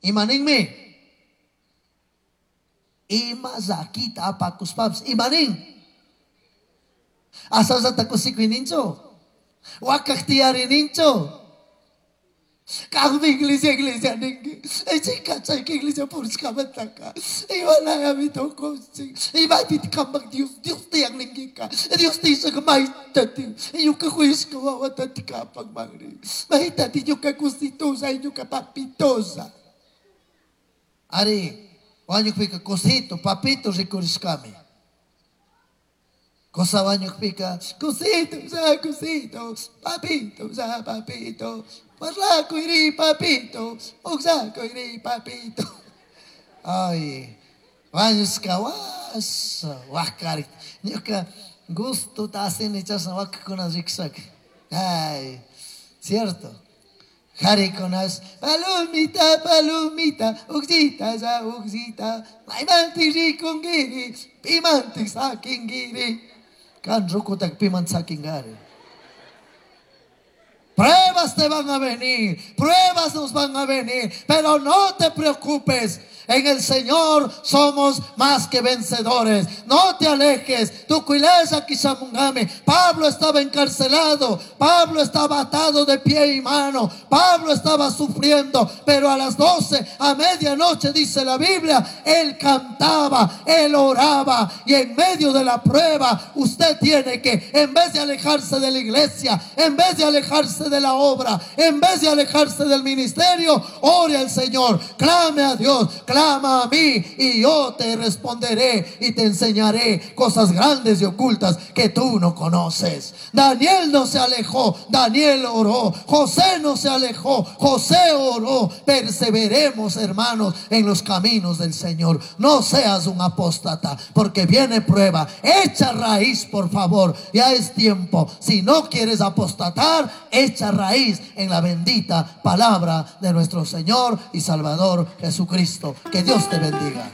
Ima ninmi? Ima llakita apakushpapish ima nin? Ashallata kushikuy ninchu? Wakak tiyari ninchu? Kanmi iglesia iglesia ninki. Chayka chayka iglesia purishkamantaka. Imalayami tukunchik. Imapiti kampak Dios, Dios tiyan ninkika. Dios tiyashaka maytati. Ñuka kuyashka wawatati kapak manri. Maytati ñuka cositosa y ñuka papitosa. Ari, wañukpika cosito, papito rikurishkami. Cosa wañukpika, cosito, ya cosito, papito, ya papito, parlakuyri papito, iri papito. Ay, wañushka washa, wakari. Ñuka gusto asini chashna wakakuna rikushaka. Ay, cierto. Jarikunash, palomita, palomita, uksita, ya uksita, maymantik rikunkiri, pimantik sakinkiri. Kan rukutak piman sakinkari. Pruebas te van a venir, pruebas nos van a venir, pero no te preocupes. En el Señor somos más que vencedores. No te alejes. Tu kishamungame. Pablo estaba encarcelado. Pablo estaba atado de pie y mano. Pablo estaba sufriendo. Pero a las 12, a medianoche, dice la Biblia, él cantaba, él oraba. Y en medio de la prueba, usted tiene que, en vez de alejarse de la iglesia, en vez de alejarse de la obra, en vez de alejarse del ministerio, ore al Señor, clame a Dios, clama a mí y yo te responderé y te enseñaré cosas grandes y ocultas que tú no conoces. Daniel no se alejó, Daniel oró. José no se alejó, José oró. Perseveremos, hermanos, en los caminos del Señor. No seas un apóstata, porque viene prueba. Echa raíz, por favor. Ya es tiempo. Si no quieres apostatar, echa raíz en la bendita palabra de nuestro Señor y Salvador Jesucristo. Que Dios te bendiga.